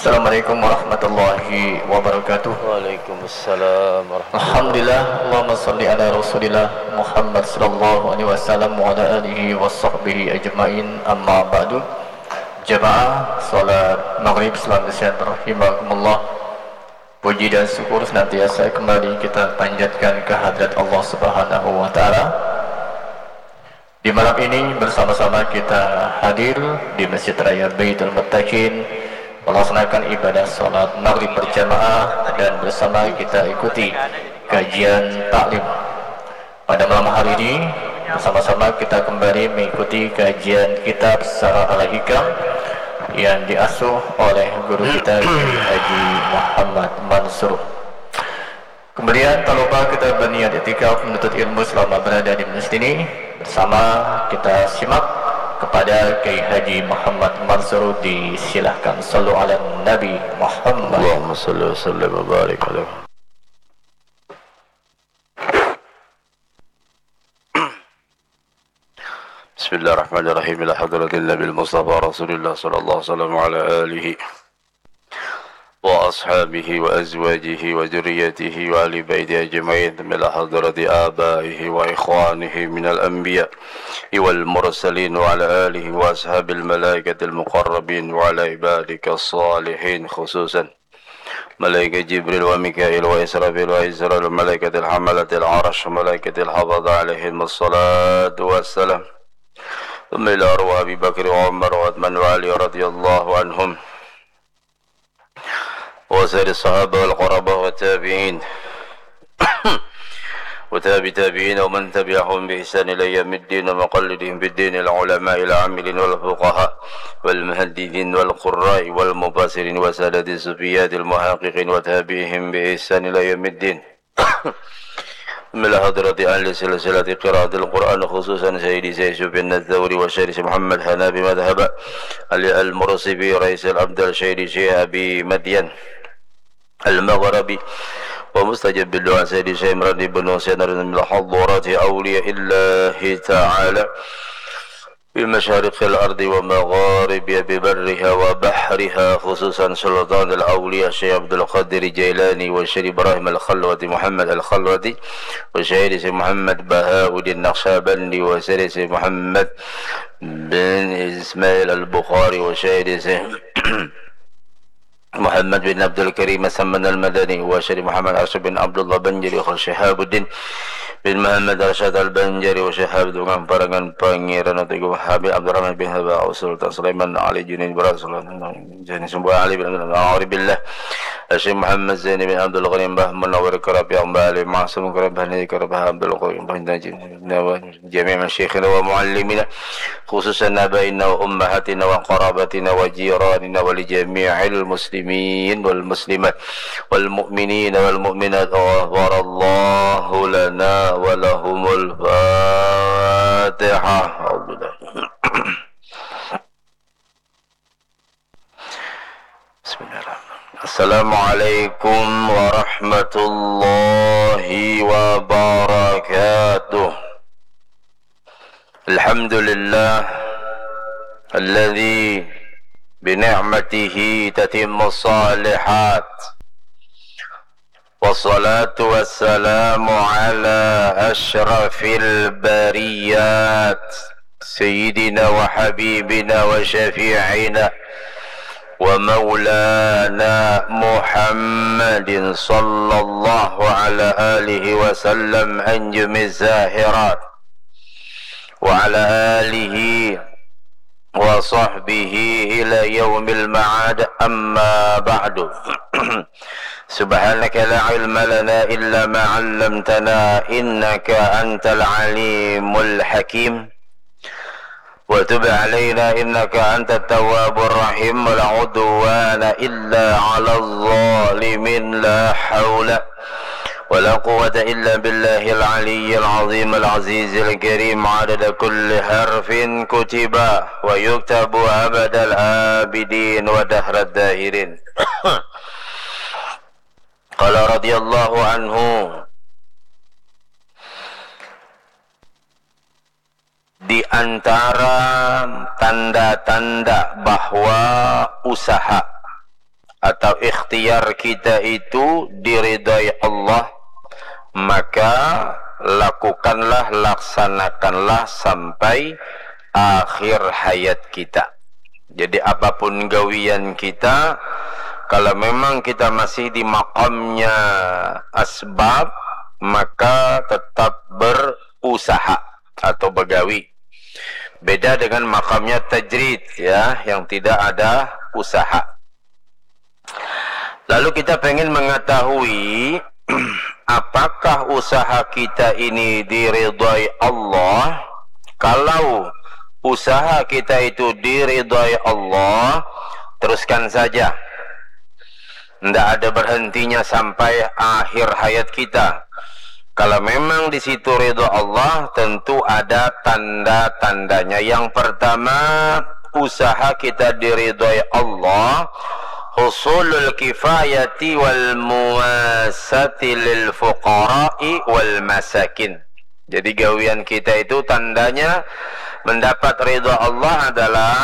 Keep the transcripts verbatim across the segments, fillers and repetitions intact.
Assalamualaikum warahmatullahi wabarakatuh. Waalaikumsalam warahmatullahi. Alhamdulillah, Allahumma salli ala Rasulillah Muhammad sallallahu alaihi wasallam wa ala alihi wa sahbihi ajma'in, amma ba'du. Jamaah salat maghrib, salam sejahtera rahimakumullah. Puji dan syukur senantiasa kembali kita panjatkan ke hadirat Allah Subhanahu wa Ta'ala. Di malam ini, bersama-sama kita hadir di Masjid Raya Baitul Muttaqin, melaksanakan ibadah salat maghrib berjamaah, dan bersama kita ikuti kajian taklim. Pada malam hari ini, bersama-sama kita kembali mengikuti kajian kitab Sarah Al-Hikam yang diasuh oleh guru kita, Kiai Haji Muhammad Mansur. Kemudian, tak lupa kita berniat iktikaf menuntut ilmu selama berada di masjid ini. Bersama kita simak kepada Kiai Haji Muhammad Mansur, disilahkan. Sallu ala Nabi Muhammad. Allahumma salli wa sallim wa barik alaihi. Bismillahirrahmanirrahim. Ila hadratin Nabil Mustafa Rasulillah sallallahu alaihi wasallam wa ala alihi wa ashabihi wa azwajihi wa dzurriyyatihi wa ahli baitihi ajma'in. Thumma ila hadrati abaihi wa ikhwanihi minal anbiya wal mursalin wa ala alihi wa ashabil malaikatil muqarrabin wa ala ibadika salihin, khususan Malaikat Jibril wa Mikail wa Israfil wa Israil wa malaikatil hamalatil arsh wa malaikatil hafadha alaihim wassalatu wassalam. Thumma ila arwah Abi Bakri wa Umar wa Uthman wa Ali radhiyallahu anhum. Wa sairi sahabah wal qarabah wa tabi'in. Wa tabi tabi'in wa man tabi'ahum bi ihsan ila yaumiddin wa muqallidihim fid din ila ulama'il amilin wal fuqaha wal muhaddithin wal qurra'i wal mufassirin wa sadati sufiyatil muhaqqiqin wa tabi'ihim bi ihsan ila yaumiddin. Ila hadrati ahli silsilati qiraatil Qur'an, khususan Sayyidi Sayyid Sufyan Ats-Tsauri wa Syekh Muhammad Hanafi madhhaba Ali Al-Mursifi Raisil Abdal Syekh Syekh Abi Madyan Al-Maghribi wa mustajab bid du'a Sayyidi Syekh Imran ibnu Husain Ridwan ila hadrati awliya illahi ta'ala bi masyariqil ardi wa magharibiha bi barriha wa bahriha, khususan Sultanul Awliya Syekh Abdul Qadir Jailani wa Syekh Ibrahim Al-Khalwati Muhammad Al-Khalwati wa Syekh Syekh Muhammad Bahauddin Naqsyabandi wa Syekh Syekh Muhammad bin Ismail Al-Bukhari wa Syekh Syekh Muhammad bin Abdul Karim As-Samman Al-Madani wa Syekh Muhammad Arsyad bin Abdullah Banjari wa Syihabuddin bin Muhammad Arsyad Al-Banjari wa Syihab Tukang Parangan Pangeran Teguh Habib Abdurrahman bin Habib Sultan Sulaiman Ali Junaid Barat Sultan Jani Sumbuh Ali bin Abdul Ma'aribillah Syekh Muhammad Zaini bin Abdul Ghani Mbah Munawir Karapi Mbah Ali Maksum Karapi Mbah Naji Karapi Abdul Qayyum Mbah Najib Nawawi. Jami'a masyayikhina wa muallimina, khususan abaina wa ummahatina wa qarabatina wa jiranina wa li jami'il muslimin wal muslimat wal mu'minina wal mu'minat. Ghafarallahu lana wa lahumul Fatihah. Alhamdulillah. Bismillahirrahmanirrahim. Assalamualaikum warahmatullahi wabarakatuh. Alhamdulillah alladzi bi ni'matihi tatimmus shalihat. Wassalatu wassalamu ala asyrafil bariyat, sayyidina wa habibina wa syafi'ina wa maulana Muhammadin sallallahu ala alihi wasallam anjumiz zahirat, wa ala alihi wa sahbihi ila yaumil ma'ad, amma ba'du. Subhanaka la ilma lana illa ma 'allamtana, innaka antal alimul hakim. Wa tub 'alaina, innaka antat tawwabur rahim. Wa la 'udwana illa 'alaz zalimin. La haula wa la quwwata illa billahil 'aliyyil 'azhimil 'azizil karim. 'Adada kulli harfin kutiba wa yuktabu abadal abidin wa dahra dahirin. Qala radhiyallahu anhu, di antara tanda-tanda bahwa usaha atau ikhtiar kita itu diridhoi Allah, maka lakukanlah, laksanakanlah sampai akhir hayat kita. Jadi apapun gawian kita, kalau memang kita masih di makamnya asbab, maka tetap berusaha atau begawi. Beda dengan makamnya tajrid, ya, yang tidak ada usaha. Lalu kita pengen mengetahui apakah usaha kita ini diridhoi Allah? Kalau usaha kita itu diridhoi Allah, teruskan saja. Tidak ada berhentinya sampai akhir hayat kita. Kalau memang di situ ridho Allah, tentu ada tanda-tandanya. Yang pertama, usaha kita diridhoi Allah, husulul kifayati wal muwasati lil fuqara'i wal masakin. Jadi gawian kita itu tandanya mendapat ridho Allah adalah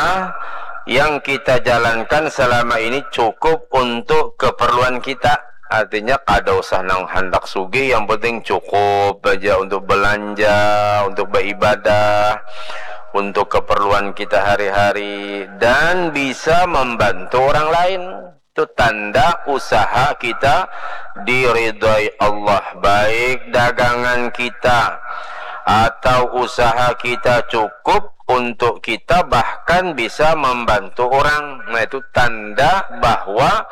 yang kita jalankan selama ini cukup untuk keperluan kita. Artinya kada usah nang handak sugih, yang penting cukup aja untuk belanja, untuk beribadah, untuk keperluan kita hari-hari, dan bisa membantu orang lain. Itu tanda usaha kita diridhoi Allah, baik dagangan kita atau usaha kita cukup untuk kita, bahkan bisa membantu orang. Nah, itu tanda bahwa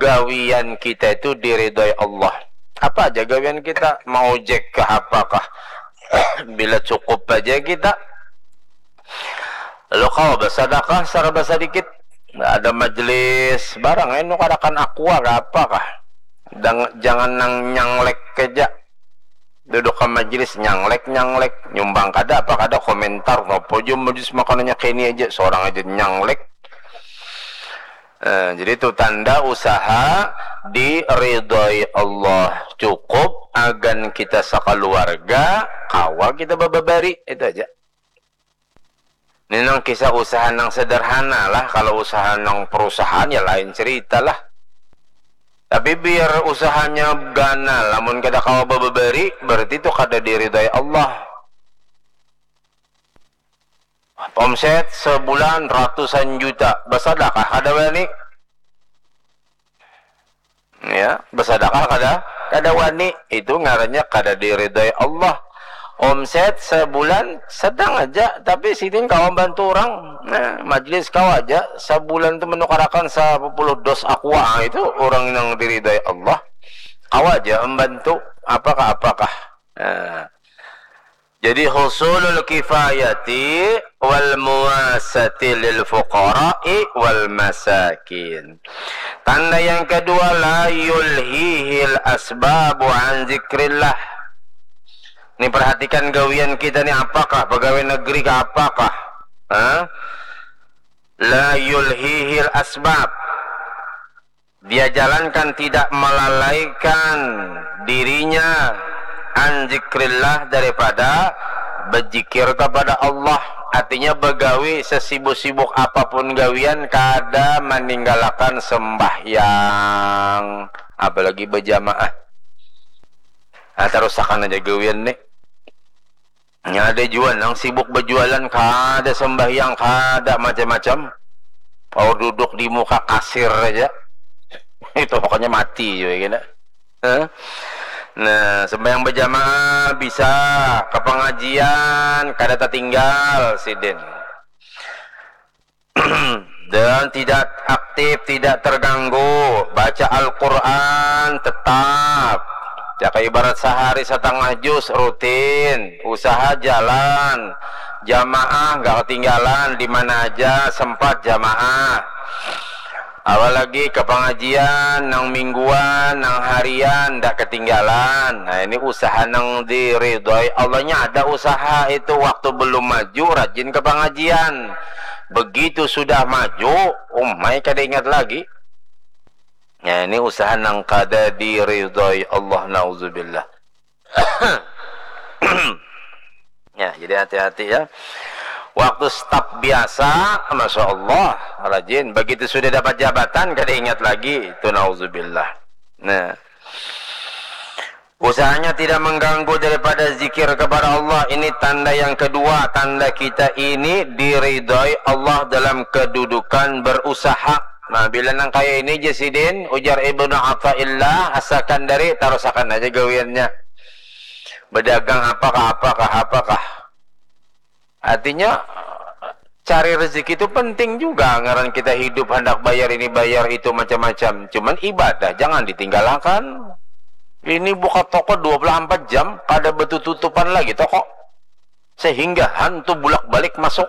gawian kita itu diridhoi Allah. Apa aja gawian kita, mau ojek kah, apakah, bila cukup aja kita, lalu kawa basadakah saraba sadikit. Ada majelis barang, eh, nukarakan aqua kah, apakah. Dang-, jangan nang nyanglek aja. Duduk ke majelis nyanglek-nyanglek, nyumbang kada, apa kada, komentar, apa aja majelis makanannya kini aja, seorang aja nyanglek. Eh, jadi itu tanda usaha diridhoi Allah. Cukup agan kita sakaluarga, kawa kita bababari, itu aja. Ini nang kisah usaha nang sederhana lah. Kalau usaha nang perusahaan ya lain cerita lah. Tapi biar usahanya ganal, lamun kada kawa bababari, berarti itu kada diridhoi Allah. Omset sebulan ratusan juta, basadakah kada wani? Ya, basadakah kada? Kada wani. Itu ngarannya kada diridhoi Allah. Omset sebulan sedang aja, tapi sidin kawa bantu orang. Nah, majelis kawa aja sebulan tu menukarakan sepuluh dos aqua, ah, itu orang yang diridhoi Allah. Kawa aja membantu apakah-apakah. Nah, jadi husulul kifayati wal muwasati lil fuqara'i wal masakin. Tanda yang kedua, la yulhihil asbabu an zikrillah. Ini perhatikan gawian kita ni apakah, pegawai negeri kah apakah? Hah? La yulhihil asbab. Dia jalankan tidak melalaikan dirinya an zikrillah, daripada berzikir kepada Allah. Artinya begawi sesibuk-sibuk apapun gawian kada meninggalkan sembahyang, apalagi berjamaah. Nah, terusakan aja gawian nih. Nya ada jua nang sibuk berjualan, kada sembahyang, kada macam-macam. Paur duduk di muka kasir aja. Itu pokoknya mati juga kena. Hah? Nah, sembahyang berjamaah bisa, ke pengajian kada tertinggal sidin. Dan tidak aktif, tidak terganggu, baca Al-Quran tetap. Jaka ibarat sehari setengah juz rutin, usaha jalan, jamaah nggak ketinggalan, di mana aja sempat jamaah. Apalagi ke pengajian, nang mingguan, nang harian, ndak ketinggalan. Nah, ini usaha nang diridhoi Allahnya. Ada usaha itu, waktu belum maju, rajin ke pengajian. Begitu sudah maju, umai kada ingat lagi. Nah, ini usaha nang kada diridhoi Allah, nauzubillah. Ya, jadi hati-hati ya. Waktu staf biasa, masya Allah, rajin. Begitu sudah dapat jabatan, kada ingat lagi. Itu nauzubillah. Nah, usahanya tidak mengganggu daripada zikir kepada Allah. Ini tanda yang kedua, tanda kita ini diridhoi Allah dalam kedudukan berusaha. Nah, bila nang kaya ini, Jasidin, ujar Ibnu Athaillah As-Sakandari, tarusakan aja gawiannya. Berdagang apakah, apakah, apakah. Artinya, cari rezeki itu penting juga. Ngaran kita hidup, hendak bayar ini, bayar itu, macam-macam. Cuman ibadah jangan ditinggalkan. Ini buka toko dua puluh empat jam, kada betutupan lagi toko. Sehingga hantu bulak-balik masuk.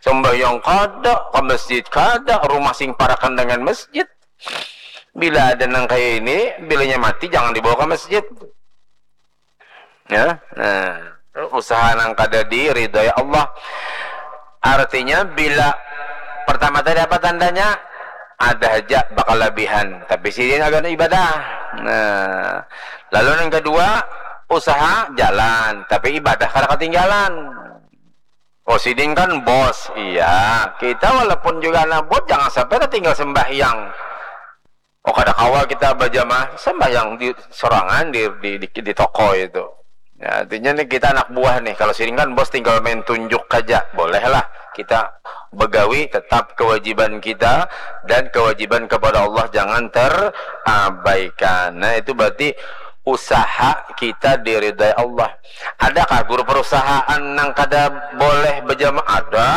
Sembahyang kada, ke masjid kada, rumah sing parakan dengan masjid. Bila ada nang kaya ini, bilanya mati, jangan dibawa ke masjid. Ya, nah, usaha nang kada diridhoi Allah. Artinya, bila pertama tadi apa tandanya? Ada aja bakal labihan, tapi sidin agak ibadah. Nah, lalu yang kedua, usaha jalan, tapi ibadah kada ketinggalan. Oh, sidin kan bos, iya. Kita walaupun juga anak bos, jangan sampai tertinggal sembahyang. Oh, kada kawa kita berjamaah sembahyang di sorangan di, di, di, di toko itu. Ya, artinya nih kita anak buah nih. Kalau sidin kan bos tinggal main tunjuk aja. Bolehlah kita begawi, tetap kewajiban kita dan kewajiban kepada Allah jangan terabaikan. Nah, itu berarti usaha kita diridai Allah. Adakah guru perusahaan nang kada boleh berjamaah? Ada.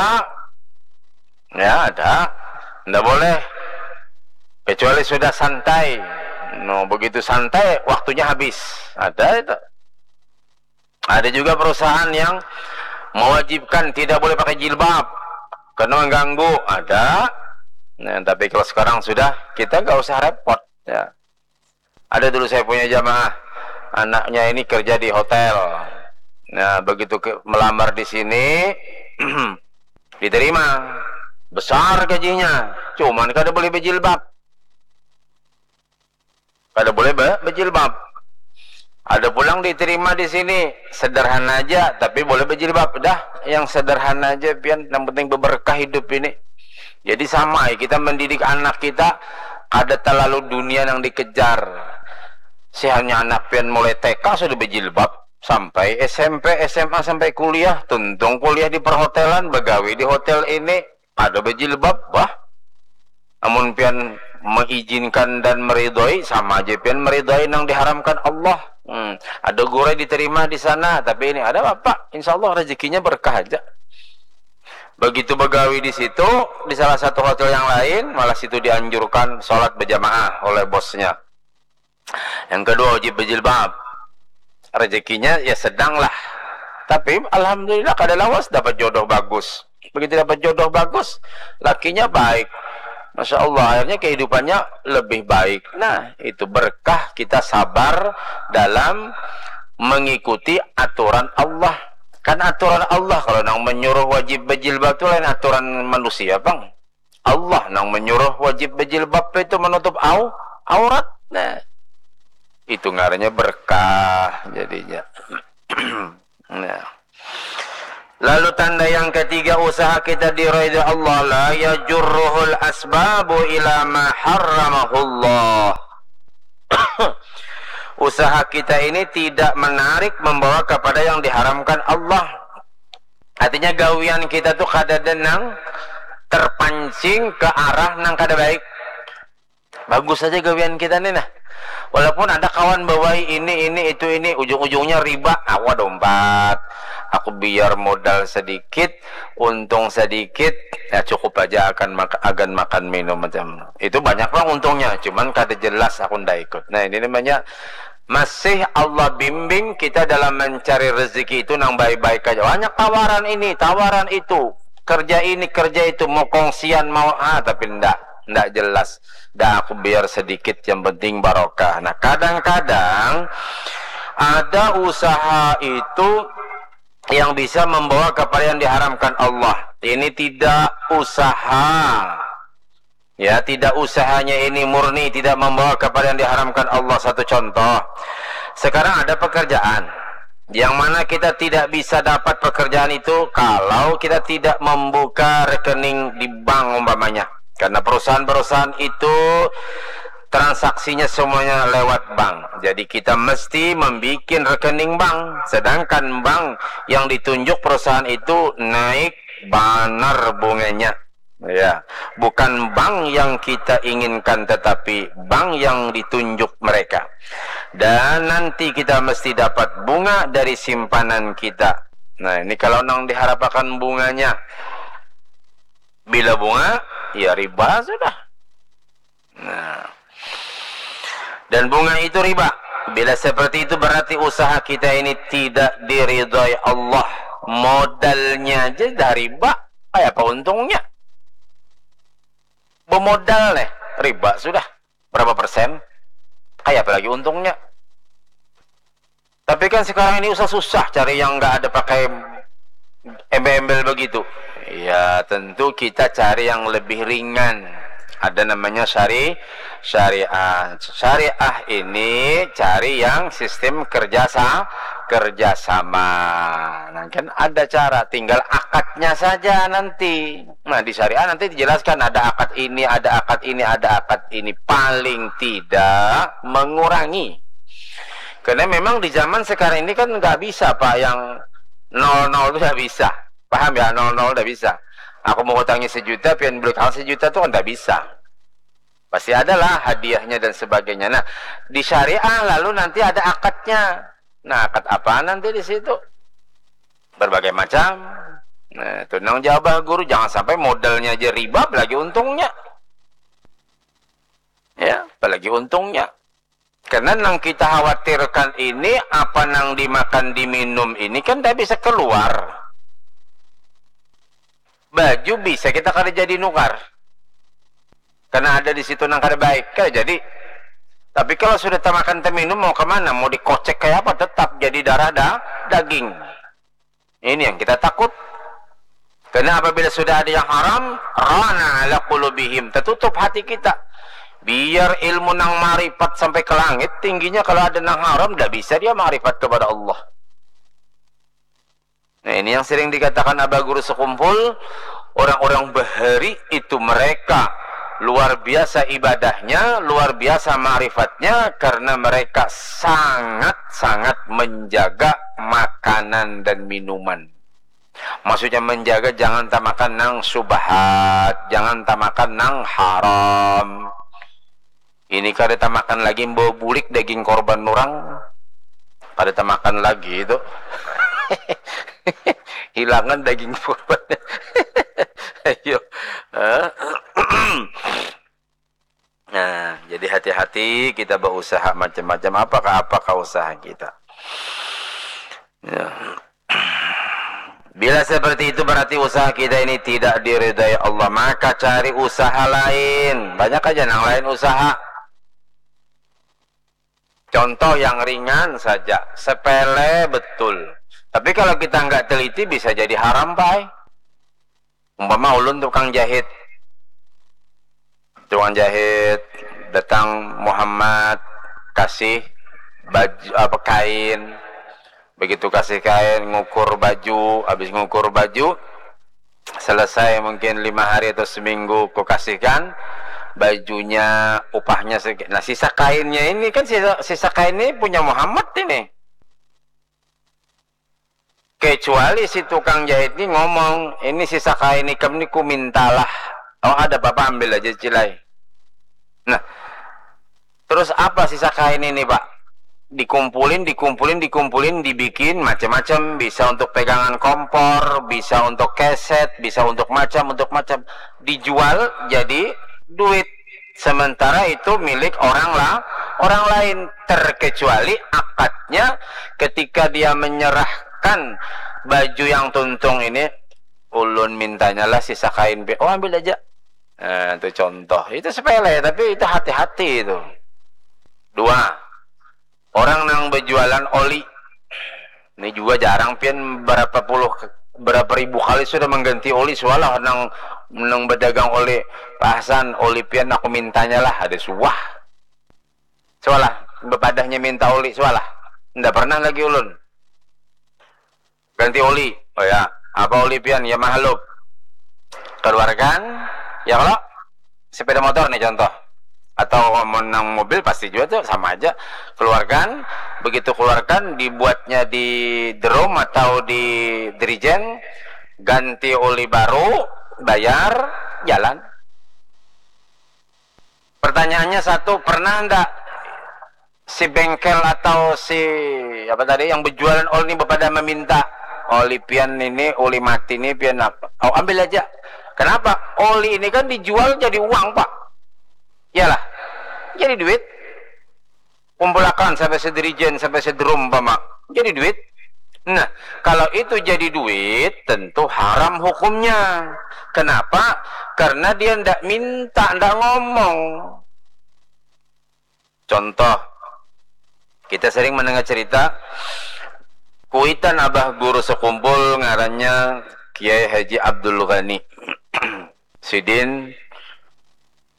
Ya, ada. Ndak boleh. Kecuali sudah santai. No, begitu santai, waktunya habis. Ada itu. Ada juga perusahaan yang mewajibkan tidak boleh pakai jilbab karena mengganggu. Ada. Nah, tapi kalau sekarang sudah, kita nggak usah repot. Ya. Ada dulu saya punya jamaah, anaknya ini kerja di hotel. Nah, begitu ke, melamar di sini, diterima. Besar gajinya, cuman kada boleh berjilbab. Kada boleh be, berjilbab. Ada pulang diterima di sini, sederhana aja, tapi boleh berjilbab. Dah, yang sederhana aja, pian, yang penting beberkah hidup ini. Jadi sama, kita mendidik anak kita, kada terlalu dunia yang dikejar. Sihanya anak pian mulai T K sudah berjilbab, sampai S M P, S M A, sampai kuliah, tuntung kuliah di perhotelan, begawi di hotel ini, ada berjilbab, bah. Namun pian mengizinkan dan meridhoi, sama aja pian meridhoi nang diharamkan Allah. Hmm. Ada gurai diterima di sana, tapi ini ada apa? Insya Allah rezekinya berkah aja. Begitu begawi di situ, di salah satu hotel yang lain, malah situ dianjurkan sholat berjamaah oleh bosnya. Yang kedua, wajib berjilbab. Rezekinya ya sedang lah. Tapi alhamdulillah kada lawas dapat jodoh bagus. Begitu dapat jodoh bagus, lakinya baik. Masya Allah, akhirnya kehidupannya lebih baik. Nah, itu berkah kita sabar dalam mengikuti aturan Allah. Kan aturan Allah, kalau nang menyuruh wajib berjilbab itu lain aturan manusia, Bang. Allah nang menyuruh wajib berjilbab itu menutup au, aurat. Nah, itu ngarannya berkah jadinya. Nah. Lalu tanda yang ketiga, usaha kita diridha Allah, la yajurruhul asbabu ila ma harramahullah. Usaha kita ini tidak menarik membawa kepada yang diharamkan Allah. Artinya gawian kita tuh kada denang terpancing ke arah nang kada baik. Bagus saja gawian kita nih nah. Walaupun ada kawan bawai ini, ini, itu, ini, ujung-ujungnya riba, awa dompat. Aku biar modal sedikit, untung sedikit, ya cukup aja akan mak agan makan minum macam itu. Banyak lah untungnya, cuman kada jelas aku ndak ikut. Nah, ini namanya masih Allah bimbing kita dalam mencari rezeki itu nang baik-baik aja. Banyak tawaran ini, tawaran itu, kerja ini, kerja itu, mau kongsian, mau ah, tapi ndak, ndak jelas. Dah aku biar sedikit, yang penting barokah. Nah, kadang-kadang ada usaha itu yang bisa membawa kepada yang diharamkan Allah. Ini tidak usaha. Ya, tidak usahanya ini murni tidak membawa kepada yang diharamkan Allah. Satu contoh, sekarang ada pekerjaan. Yang mana kita tidak bisa dapat pekerjaan itu kalau kita tidak membuka rekening di bank umpamanya. Karena perusahaan-perusahaan itu transaksinya semuanya lewat bank. Jadi kita mesti membuat rekening bank. Sedangkan bank yang ditunjuk perusahaan itu naik banar bunganya. Ya, bukan bank yang kita inginkan, tetapi bank yang ditunjuk mereka. Dan nanti kita mesti dapat bunga dari simpanan kita. Nah, ini kalau nang diharapakan bunganya. Bila bunga, ya riba sudah. Nah. Dan bunga itu riba. Bila seperti itu, berarti usaha kita ini tidak diridhoi Allah. Modalnya aja dah riba. Kayak apa untungnya? Bemodal nih, riba sudah. Berapa persen? Kayak apa lagi untungnya? Tapi kan sekarang ini usah susah cari yang nggak ada pakai embel-embel begitu. Ya, tentu kita cari yang lebih ringan. Ada namanya syari syariah. Syariah ini cari yang sistem kerja sa kerjasama. Nah, kan ada cara, tinggal akadnya saja nanti. Nah, di syariah nanti dijelaskan ada akad ini, ada akad ini, ada akad ini. Paling tidak mengurangi. Karena memang di zaman sekarang ini kan nggak bisa, Pak, yang nol nol itu nggak bisa. Paham ya, nol nol nggak bisa. Aku mau utangi sejuta, pian beli kal sejuta tuh nggak bisa. Pasti adalah hadiahnya dan sebagainya. Nah, di syariah lalu nanti ada akadnya. Nah, akad apa nanti di situ? Berbagai macam. Nah, itu nang jawab guru, jangan sampai modalnya aja riba, apalagi untungnya. Ya, apalagi untungnya. Karena nang kita khawatirkan ini, apa nang dimakan diminum ini kan tidak bisa keluar. Baju bisa kita kada jadi nukar. Karena ada di situ nang kada baik, kada jadi. Tapi kalau sudah tamakan teminum, mau kemana? Mau dikocek kayak apa? Tetap jadi darah da daging. Ini yang kita takut. Karena apabila sudah ada yang haram, rana ala qulubihim, tertutup hati kita. Biar ilmu nang marifat sampai ke langit tingginya, kalau ada nang haram, tidak bisa dia marifat kepada Allah. Nah, ini yang sering dikatakan Abah Guru Sekumpul, orang-orang bahari itu mereka luar biasa ibadahnya, luar biasa marifatnya, karena mereka sangat-sangat menjaga makanan dan minuman. Maksudnya menjaga, jangan tamakan nang subhat, jangan tamakan nang haram. Ini kada tamakan lagi, membawa bulik daging korban orang. Kada tamakan lagi itu. Hilangan daging korban. Ayo. Nah, jadi hati-hati kita berusaha macam-macam. Apakah apakah usaha kita? Ya. Bila seperti itu, berarti usaha kita ini tidak diridai Allah. Maka cari usaha lain. Banyak aja nang lain usaha. Contoh yang ringan saja, sepele betul. Tapi kalau kita nggak teliti, bisa jadi haram, Pak. Umpama ulun tukang jahit. Tukang jahit, datang Muhammad, kasih baju apa, kain. Begitu kasih kain, ngukur baju, habis ngukur baju, selesai mungkin lima hari atau seminggu, ku kasihkan bajunya, upahnya sedikit. Nah, sisa kainnya ini kan, sisa, sisa kain ini punya Muhammad ini. Kecuali si tukang jahit ni ngomong, "Ini sisa kain ikam ni ku mintalah." "Oh, ada apa-apa, ambil aja, Cilai." Nah, terus apa sisa kain ini, Pak? Dikumpulin, dikumpulin, dikumpulin, dibikin macam-macam. Bisa untuk pegangan kompor, bisa untuk keset, bisa untuk macam, untuk macam. Dijual jadi duit. Sementara itu milik orang lah, orang lain. Terkecuali akadnya ketika dia menyerahkan baju yang tuntung ini, "Ulun mintanya lah sisa kain, Pi." "Oh, ambil aja." Nah, itu contoh. Itu sepele, tapi itu hati-hati itu. Dua, orang nang berjualan oli. Ini juga jarang, pian berapa puluh, berapa ribu kali sudah mengganti oli, sualah nang, nang berdagang oli, "Pak Hasan, oli pian aku mintanya lah," ada suah. Sualah, bepadahnya minta oli, sualah. Ndak pernah lagi ulun. Ganti oli. Oh ya, apa oli pian? Ya mahalub. Keluarkan, ya kalau sepeda motor nih contoh. Atau menang mobil pasti juga tuh sama aja. Keluarkan, begitu keluarkan dibuatnya di drum atau di dirijen, ganti oli baru, bayar, jalan. Pertanyaannya satu, pernah ndak si bengkel atau si apa tadi yang berjualan oli ini pada meminta oli pian ini, oli mati ini pian apa? Oh, ambil aja. Kenapa? Oli ini kan dijual jadi uang, Pak. Iyalah. Jadi duit. Kumpulakan sampai sedirijen, sampai sedrum, Pak. Jadi duit. Nah, kalau itu jadi duit, tentu haram hukumnya. Kenapa? Karena dia ndak minta, ndak ngomong. Contoh, kita sering mendengar cerita kuitan abah guru sekumpul ngarannya Kiai Haji Abdul Ghani. Sidin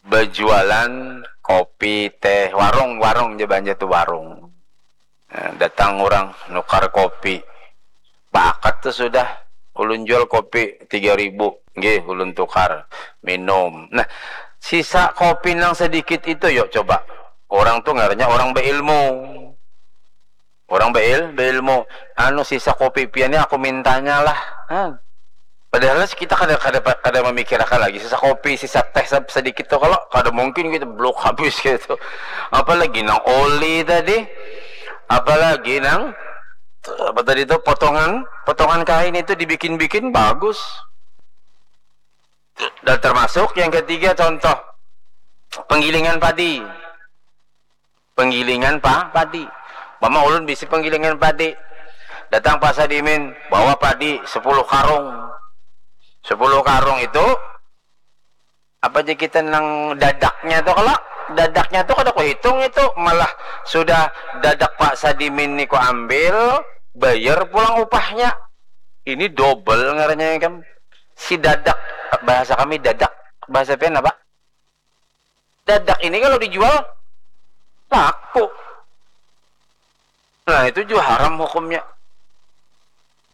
berjualan kopi, teh, warung, warung je banjar tu warung. Nah, datang orang nukar kopi. Pakat tu sudah, ulun jual kopi tiga ribu. Nggih, ulun tukar, minum. Nah, sisa kopi nang sedikit itu, yuk coba. Orang tu ngarannya orang beilmu. Orang beil, beilmu. Anu, sisa kopi pian ni aku mintanya lah. Nah, padahal kita kada, kada, kada memikirkan lagi sisa kopi, sisa teh se-, sedikit tu, kalau kada mungkin kita blok habis gitu. Apalagi nang oli tadi, apalagi nang apa tadi tu, potongan, potongan kain itu dibikin-bikin bagus. Dan termasuk yang ketiga, contoh penggilingan padi. Penggilingan pa-, padi. Mama ulun bisi penggilingan padi. Datang Pak Sadimin, bawa padi sepuluh karung. Sepuluh karung itu, apa aja kita nang dadaknya tuh, kalau dadaknya tuh kada kuhitung itu, malah sudah dadak Pak Sadimin ni ku ambil, bayar pulang upahnya. Ini double ngarannya kan. Si dadak, bahasa kami dadak, bahasa pian apa? Dadak ini kalau dijual, laku. Nah, itu juga haram hukumnya.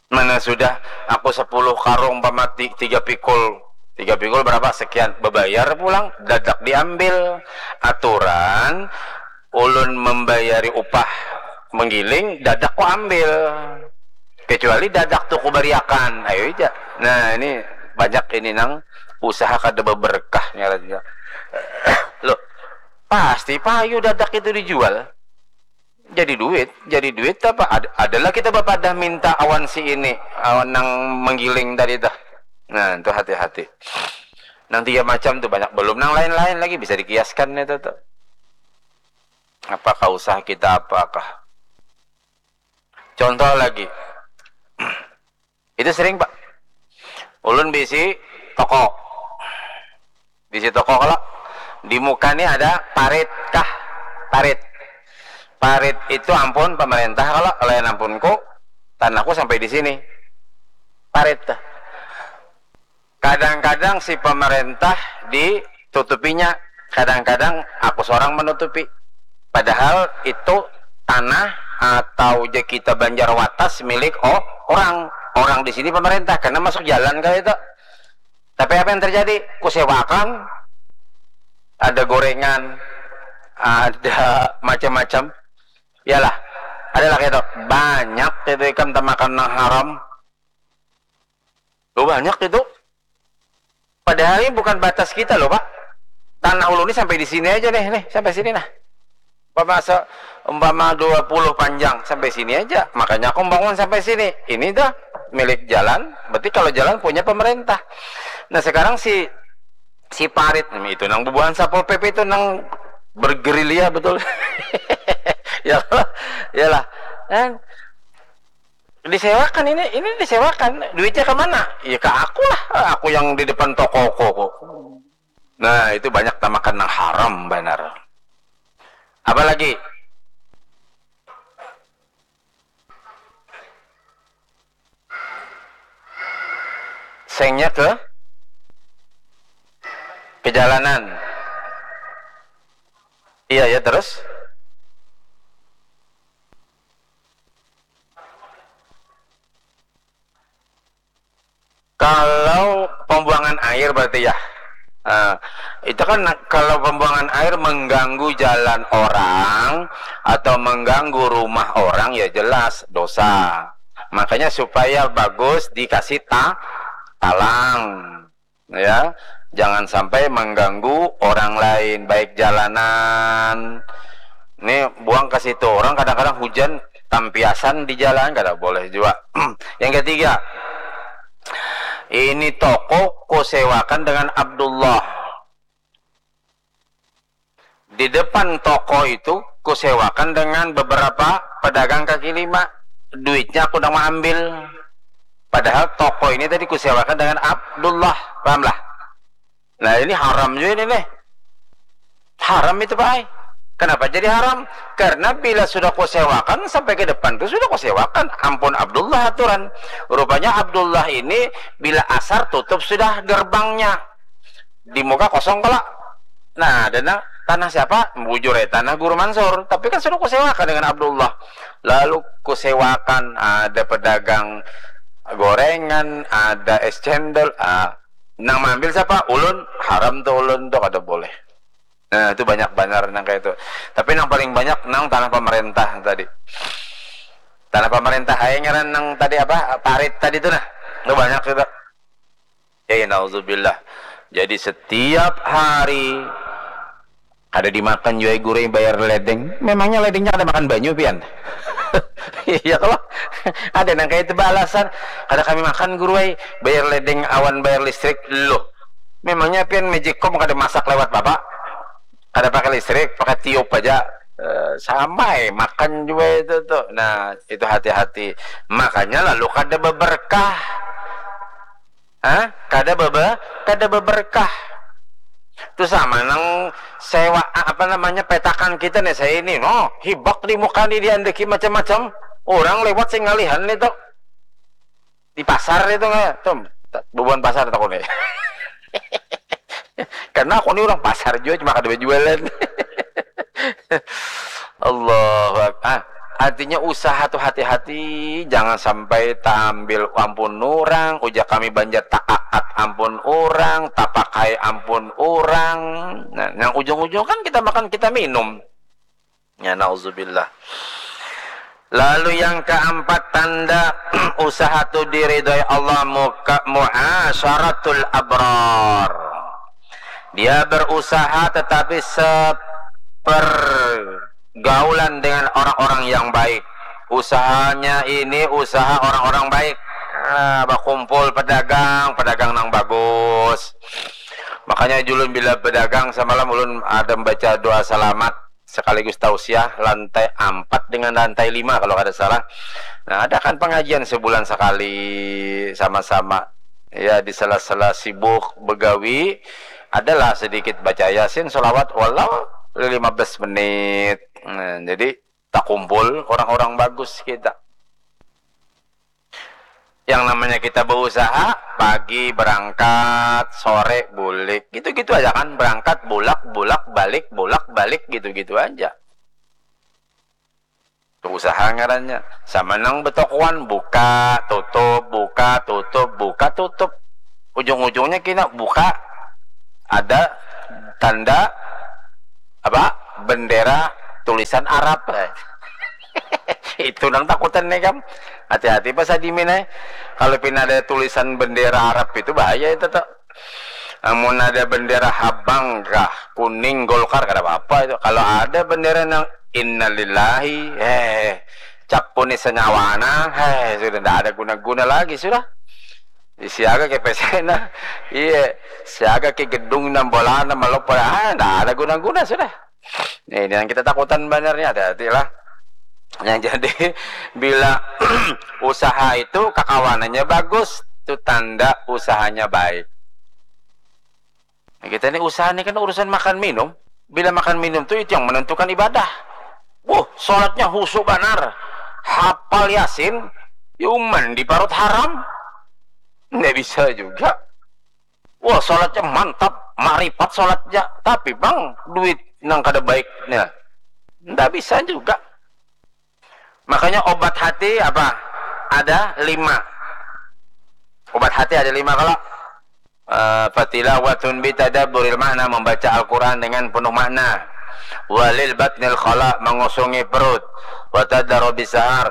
Mana sudah aku sepuluh karung pamati, tiga pikul. Tiga pikul berapa? Sekian. Bebayar pulang, dadak diambil. Aturan, ulun membayari upah menggiling, dadak ku ambil. Kecuali dadak tu ku bariakan. Ayo aja. Nah, ini banyak ini nang usaha kada beberkah ngarannya. Loh, pasti payu dadak itu dijual. Jadi duit, jadi duit apa? Ad-, adalah kita bapadah minta awan si ini, awan nang menggiling tadi tuh. Nah, itu hati-hati. Nang tiga macam tuh banyak, belum nang lain-lain lagi bisa dikiaskan itu tuh. Apakah usaha kita apakah? Contoh lagi. Itu sering, Pak. Ulun bisi toko. Bisi toko kalau di muka ni ada parit kah? Parit. Parit itu ampun pemerintah kalau, lain ampunku, tanahku sampai di sini. Parit tuh. Kadang-kadang si pemerintah ditutupinya, kadang-kadang aku seorang menutupi. Padahal itu tanah atau je kita Banjar Watas milik, oh, orang. Orang di sini pemerintah, karena masuk jalan kali itu. Tapi apa yang terjadi? Kusewakan, ada gorengan, ada macam-macam. Iyalah, adalah itu. Banyak itu ikam tamakan nang haram. Loh, banyak itu. Padahal ini bukan batas kita loh, Pak. Tanah ulun ini sampai di sini aja nih, nih, sampai sini nah. Umpama se-, umpama dua puluh panjang sampai sini aja. Makanya aku bangun sampai sini. Ini dah milik jalan, berarti kalau jalan punya pemerintah. Nah, sekarang si, si parit, hmm, itu nang bubuhan Satpol P P itu nang bergerilya betul. Ya, iyalah. Kan disewakan ini, ini disewakan. Duitnya ke mana? Ya ke aku lah. Aku yang di depan toko kok. Nah, itu banyak tamakan nang haram banar. Apalagi? Sengnya ke kejalanan. Iya, ya, terus? air berarti ya. Nah, itu kan kalau pembuangan air mengganggu jalan orang atau mengganggu rumah orang, ya jelas dosa. Makanya supaya bagus dikasih ta talang, ya. Jangan sampai mengganggu orang lain, baik jalanan. Ini buang ke situ. Orang kadang-kadang hujan tampiasan di jalan, kada boleh juga. Yang ketiga, ini toko kusewakan dengan Abdullah. Di depan toko itu kusewakan dengan beberapa pedagang kaki lima. Duitnya aku nang ambil. Padahal toko ini tadi kusewakan dengan Abdullah. Pahamlah? Nah, ini haram juga ini nih. Haram itu, Pak ai. Kenapa jadi haram? Karena bila sudah kusewakan, sampai ke depan tuh sudah kusewakan. Ampun Abdullah aturan. Rupanya Abdullah ini bila asar tutup sudah gerbangnya. Di muka kosong kala. Nah, ada nang, tanah siapa? Bujur ya, tanah Guru Mansur. Tapi kan sudah kusewakan dengan Abdullah. Lalu kusewakan, ada pedagang gorengan, ada es cendol. Ah, nang maambil siapa? Ulun. Haram tuh ulun tuh, kada boleh. Nah, itu banyak banar nang kayak itu. Tapi nang paling banyak nang tanah pemerintah tadi. Tanah pemerintah aja ngaran nang tadi apa? Parit tadi tuh nah. Itu banyak juga. Ya, ya, nauzubillah. Jadi setiap hari kada dimakan jua guru bayar ledeng. Memangnya ledengnya kada makan banyu pian? Iya kalau ada nang kayak itu balasan, kada kami makan guru ai, bayar ledeng awan bayar listrik. Loh, memangnya pian magicom kada masak lewat bapak? Kada pakai listrik, pakai tiup aja. Eh, sama eh, makan juga itu tuh. Nah, itu hati-hati. Makanya lalu kada beberkah. Hah? Kada bebe, kada beberkah. Itu sama nang sewa apa namanya petakan kita nih saya ini. No, hibak di muka nih diandeki macam-macam. Orang lewat sing ngalihan nih tuh. Di pasar itu nggak? Tuh, bubuhan pasar tuh nih. Karena aku nih orang pasar juga cuma kada berjualan. Allahu Akbar. Ah, artinya usaha tuh hati-hati, jangan sampai taambil ampun orang, ujar kami banjar taakat ampun orang, tapakai ampun orang. Nah, yang ujung-ujung kan kita makan kita minum. Ya nauzubillah. Lalu yang keempat tanda usaha tu diridhoi Allah muka muasyaratul abrar. Dia berusaha tetapi sepergaulan dengan orang-orang yang baik. Usahanya ini usaha orang-orang baik. Ah, bakumpul pedagang, pedagang nang bagus. Makanya julun bila pedagang semalam ulun ada membaca doa selamat sekaligus tausiah lantai empat dengan lantai lima kalau kada salah. Nah, ada kan pengajian sebulan sekali sama-sama. Ya, di sela-sela sibuk begawi, adalah sedikit baca Yasin, selawat walau lima belas menit. Nah, jadi takumpul orang-orang bagus kita. Yang namanya kita berusaha, pagi berangkat, sore bulik, gitu-gitu aja kan, berangkat bulak bulak balik bulak balik gitu-gitu aja. Usaha ngarannya. Sama nang betokoan, buka tutup buka tutup buka tutup, ujung-ujungnya kena buka ada tanda apa, bendera tulisan Arab. Itu nang takutan nih kam. Hati-hati pas adimin eh. Kalau pina ada tulisan bendera Arab itu bahaya itu tuh. Amun ada bendera habang kah, kuning, Golkar, kada apa-apa itu. Kalau ada bendera nang innalillahi, eh, cap kuning senyawana, eh, sudah ndak ada guna-guna lagi sudah. Siaga ke pesena, iya, siaga ke gedung nang bolana malopo, ah, ndak ada guna-guna sudah. Nah, ini yang kita takutan banarnya, hati-hatilah. Yang jadi bila usaha itu kakawanannya bagus, itu tanda usahanya baik. Nah, kita ini usaha ini kan urusan makan minum. Bila makan minum tuh itu yang menentukan ibadah. Wuh, sholatnya husu banar. Hafal Yasin, yuman di parut haram. Nggak bisa juga. Wah, sholatnya mantap, maripat sholatnya. Tapi bang, duit nang kada baiknya. Nggak bisa juga. Makanya obat hati apa? Ada lima. Obat hati ada lima kalau. Uh, fatilawatun bitadabburil makna, membaca Al-Quran dengan penuh makna. Walil batnil khala, mengusungi perut. Watadarobi sahar,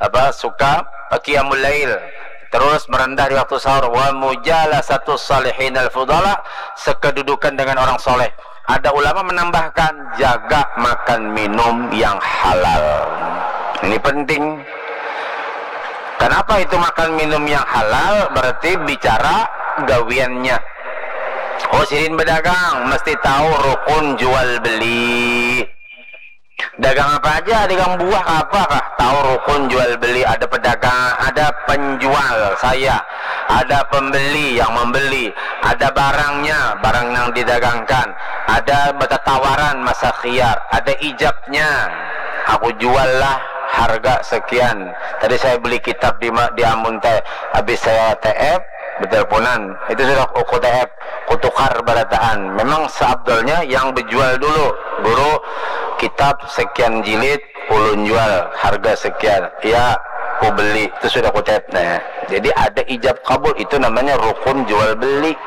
apa, suka, uh, qiyamul lail, terus merendah di waktu sahur. Wa mujalasatu salihin al fudala, sekedudukan dengan orang soleh. Ada ulama menambahkan, jaga makan minum yang halal. Ini penting. Kenapa itu makan minum yang halal? Berarti bicara gawiannya. Oh, sidin berdagang, mesti tahu rukun jual beli. Dagang apa aja, dagang buah apa kah? Tahu rukun jual beli, ada pedagang, ada penjual, saya, ada pembeli yang membeli, ada barangnya, barang yang didagangkan, ada bertatawaran, masa khiyar, ada ijabnya. Aku jual lah harga sekian. Tadi saya beli kitab di ma-, di Ambon teh, habis saya T F, berteleponan. Itu sudah aku T F, ku tukar barataan. Memang seabdolnya yang berjual dulu. Guru, kitab sekian jilid, ulun jual, harga sekian. Ya, ku beli. Itu sudah ku T F. Nah, jadi ada ijab kabul, itu namanya rukun jual beli.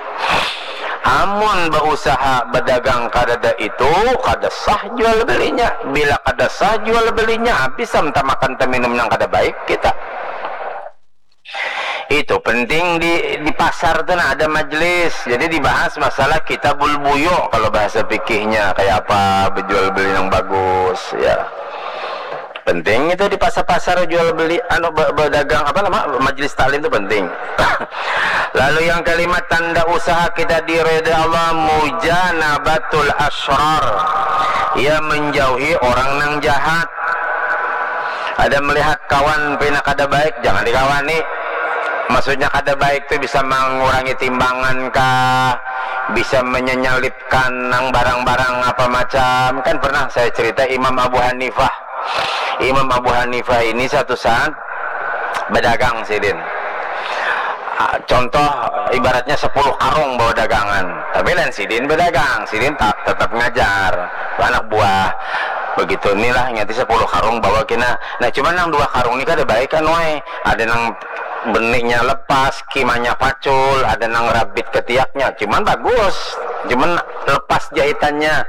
Amun bausaha berdagang kadada itu, kada sah jual belinya. Bila kada sah jual belinya, habis am tamakan taminum nang kada baik kita. Itu penting di, di pasar tu, nah, ada majlis. Jadi dibahas masalah kitabul buyu, kalau bahasa fikihnya, kayak apa berjual beli yang bagus, ya. Penting itu di pasar-pasar jual beli, anu, be-, berdagang, apa nama, majlis taklim itu penting. Lalu yang kelima, tanda usaha kita diridai Allah, mujanabatul asyrar. Ia menjauhi orang nang jahat. Ada melihat kawan pina kada baik, jangan dikawani. Maksudnya kada baik tu bisa mengurangi timbangan kah, bisa menyelipkan nang barang-barang apa macam. Kan pernah saya cerita Imam Abu Hanifah. Imam Abu Hanifah ini satu saat berdagang sidin. Ah, contoh, ibaratnya sepuluh karung bawa dagangan. Tapi lain sidin berdagang, sidin ta-, tetap ngajar. Anak buah. Begitu inilah, ingat sepuluh karung bawa kena. Nah, cuman nang dua karung ni kada baik kan, wai. Ada nang beniknya lepas, kimanya pacul, ada nang rabit ketiaknya. Cuman bagus. Cuman lepas jahitannya.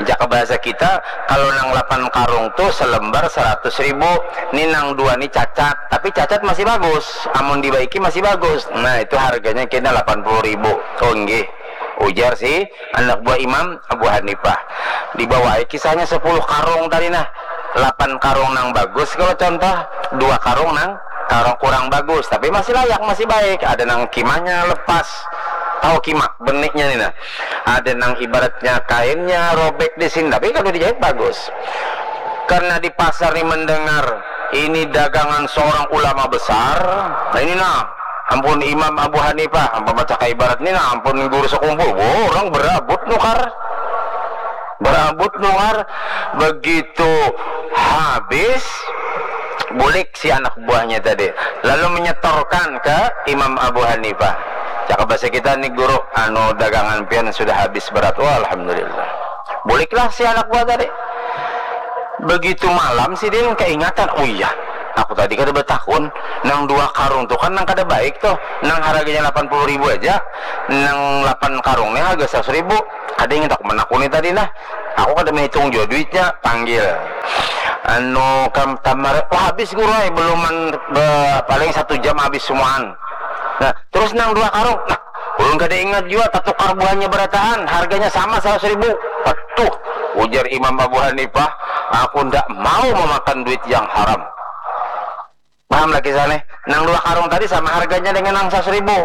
Jaka bahasa kita, kalau nang lapan karung tu selembar seratus ribu, ni nang dua ni cacat, tapi cacat masih bagus, amun dibaiki masih bagus. Nah, itu harganya kena lapan puluh ribu. Oh, nggih, ujar si anak buah Imam Abu Hanifah. Dibawai kisahnya sepuluh karung tadi, nah. Lapan karung nang bagus kalau contoh, dua karung nang karung kurang bagus, tapi masih layak, masih baik. Ada nang kimanya lepas, tahu kima beniknya ni, nah. Ada nang ibaratnya kainnya robek di sini, tapi kalau dijahit bagus. Karena di pasar ni mendengar ini dagangan seorang ulama besar, nah, ini nah, ampun Imam Abu Hanifah, ampun baca ibarat ni nah, ampun guru sekumpul, wow, orang berabut nukar. Berabut nukar. Begitu habis, bulik si anak buahnya tadi, lalu menyetorkan ke Imam Abu Hanifah. Cakap bahasa kita ni, guru, anu, dagangan pian sudah habis berat. Wah, alhamdulillah. Buliklah si anak buah tadi. Begitu malam, sidin keingatan, oh iya, aku tadi kada bertakun, nang dua karung tu kan nang kada baik tuh, nang harganya lapan puluh ribu aja, nang lapan karung ni harga seratus ribu. Kada ingat aku menakuni tadi, nah. Aku kada menghitung jua duitnya, panggil. Anu, kam tamar, wah, habis, guru ai, belum man-, be-, paling satu jam habis semuaan. Nah, terus nang dua karung, nah, ulun kada ingat jua, tatukar buahnya berataan, harganya sama seratus ribu. Aduh, ujar Imam Abu Hanifah, aku ndak mau memakan duit yang haram. Paham lagi sana? Nang dua karung tadi sama harganya dengan nang seratus ribu.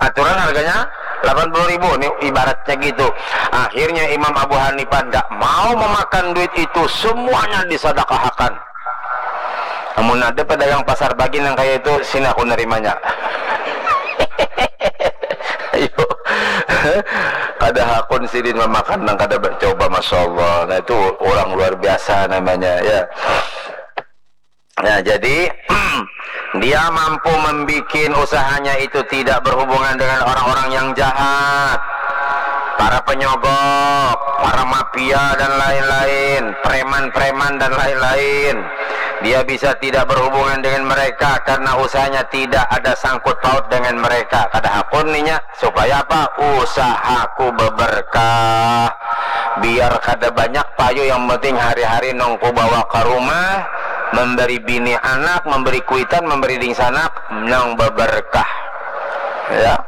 Aturan harganya lapan puluh ribu. Ini ibaratnya gitu. Akhirnya Imam Abu Hanifah ndak mau memakan duit itu, semuanya disadakahakan. Namun ada pedagang pasar pagi nang kayak itu, sini aku nerimanya. Ayo. Kada hakun sidin memakan nang kada bercoba, masya Allah. Nah, itu orang luar biasa namanya, ya. Nah, jadi dia mampu membuat usahanya itu tidak berhubungan dengan orang-orang yang jahat, para penyogok, para mafia dan lain-lain, preman-preman dan lain-lain. Dia bisa tidak berhubungan dengan mereka karena usahanya tidak ada sangkut paut dengan mereka. Kada hakun ninya, supaya apa? Usahaku beberkah. Biar kada banyak payu, yang penting hari-hari nang ku bawa ke rumah, memberi bini anak, memberi kuitan, memberi dingsanak, nang beberkah. Ya.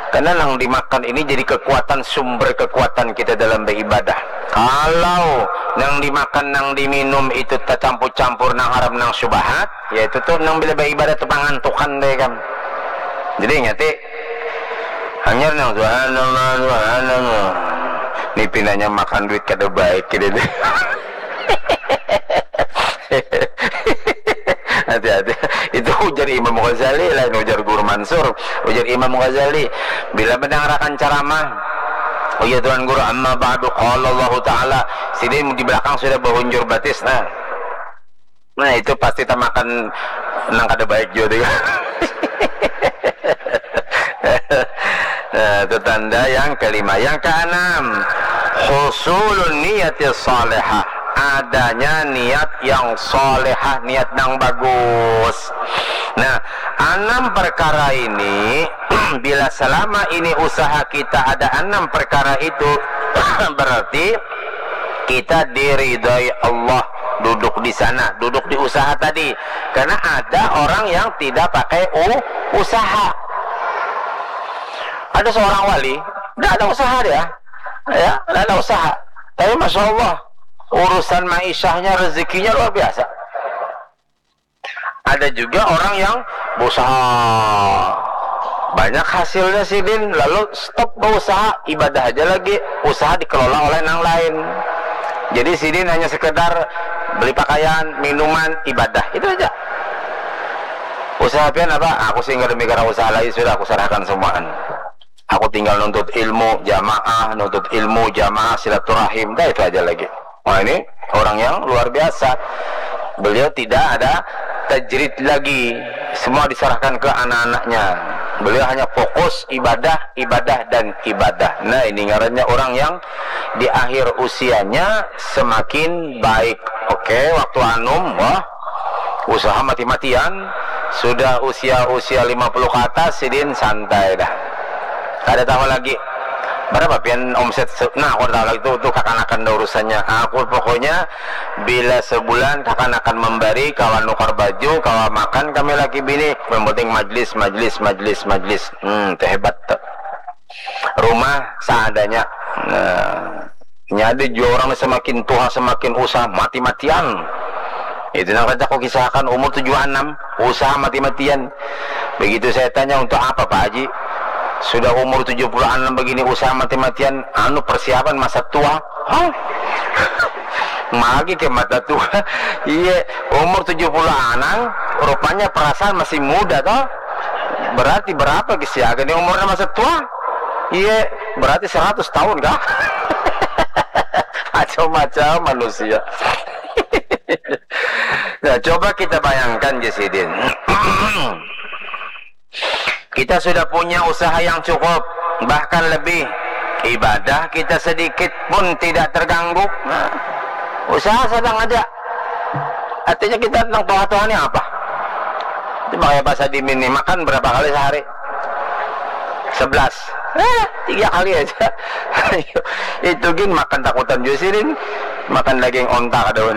Karena nang dimakan ini jadi kekuatan, sumber kekuatan kita dalam beribadah. Kalau nang dimakan, nang diminum itu tacampur-campur nang haram, nang syubhat, ya itu tuh nang bila beribadah tuh pangantukan deh kan. Jadi ingati, hanyar nang subhanallah, subhanallah. Ni pinanya makan duit kada baik gitu deh. Hati-hati. Itu ujar Imam Ghazali, lain ujar Guru Mansur. Ujar Imam Ghazali, bila mendangarakan ceramah, oh iya Tuan Guru, amma ba'du, qala Allahu Ta'ala, sidin di belakang sudah bahunjur batis, nah. Nah, itu pasti tamakan nang kada baik juga tuh. Nah, itu tanda yang kelima. Yang keenam, husulun niyati salihah. Adanya niat yang salihah, niat yang bagus. Nah, enam perkara ini, bila selama ini usaha kita ada enam perkara itu, berarti kita diridhoi Allah duduk di sana, duduk di usaha tadi. Karena ada orang yang tidak pakai u-, usaha. Ada seorang wali, tidak ada usaha dia. Ya, tidak ada usaha. Tapi Masya Allah, urusan maisahnya, rezekinya luar biasa. Ada juga orang yang berusaha, banyak hasilnya sidin, lalu stop berusaha, ibadah aja lagi, usaha dikelola oleh nang lain. Jadi sidin hanya sekedar beli pakaian, minuman, ibadah, itu aja. Usaha pian apa? Aku sih nggak demikian usaha lagi, sudah aku serahkan semuaan. Aku tinggal nuntut ilmu jamaah, nuntut ilmu jamaah, silaturahim, dah itu aja lagi. Wah, ini orang yang luar biasa. Beliau tidak ada tajrid lagi. Semua diserahkan ke anak-anaknya. Beliau hanya fokus ibadah, ibadah, dan ibadah. Nah, ini ngarannya orang yang di akhir usianya semakin baik. Oke, waktu anum, wah, usaha mati-matian. Sudah usia-usia lima puluh ke atas, sidin santai dah. Kada tahu lagi berapa pian omset se-, nah, aku tahu lagi tuh, tuh kakanakan dah urusannya. Aku pokoknya bila sebulan kakanakan memberi, kawa nukar baju, kawa makan kami laki bini, yang penting majlis, majlis, majlis, majlis. Hmm, itu hebat tuh. Rumah seadanya. Nah, nyadi jua orang semakin tua semakin usaha mati-matian. Itu nang kata aku kisahkan, umur tujuh puluh enam, usaha mati-matian. Begitu saya tanya, "Untuk apa, Pak Haji? Sudah umur tujuh puluh enam begini, usaha mati-matian?" "Anu, persiapan masa tua." "Hah?" Magi ke mata tua. Iya, umur tujuh puluh enam, rupanya perasaan masih muda toh. Berarti berapa gisiaga nih umurnya masa tua? Iya, berarti seratus tahun kah? Macam-macam manusia. Nah, coba kita bayangkan, Jasidin. Kita sudah punya usaha yang cukup, bahkan lebih. Ibadah kita sedikit pun tidak terganggu. Nah, usaha sedang aja. Artinya kita tentang tuha-tuha ini apa? Itu makanya pas dimin nih, makan berapa kali sehari? Sebelas. Eh, tiga kali aja. Itu gin makan takutan juga sih, Din. Makan daging onta kada wani.